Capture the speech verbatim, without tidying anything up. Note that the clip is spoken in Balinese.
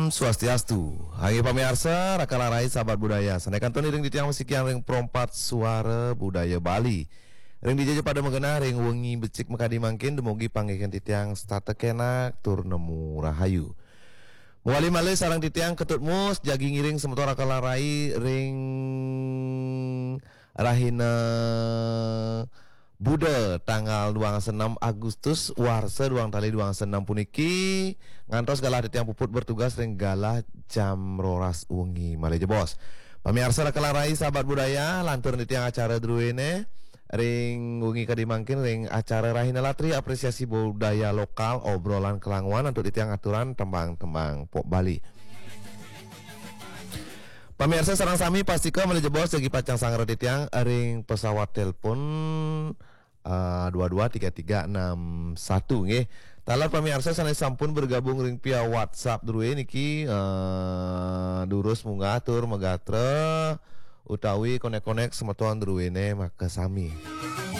Swastiastu. Inggih pamiarsa, Raka Larai sahabat budaya. Sané kantun iring titiang masikian ring Pro empat Suara Budaya Bali. Ring dija ja pada magenah ring wengi becik makadi mangkin, dumugi panggihin titiang setata kenak tur nemu rahayu. Mawali malih sareng titiang Ketut Mus, jagi ngiring semeton Raka Larai ring rahina Buda tanggal dua enam Agustus warsa dua tali dua enam puniki, ngantos galah titiang puput bertugas ring galah jam roras wengi. Malih jebos. Pamiarsa Raka Larai sahabat budaya, lantur titiang acara druéné ring wengi kadi mangkin ring acara Rahina Latri Apresiasi Budaya Lokal, obrolan kelanguan antuk titiang aturan tembang-tembang pop Bali. Pamiarsa sareng sami, pastika malih jebos jagi pacang sangra titiang ring pesawat telepon, eh, dua dua tiga tiga enam satu, nggih. Taler pamiarsa sané sampun bergabung ring via WhatsApp drué niki, eh, durus munggah tur magatra utawi konek-konek semeton druéné makasami.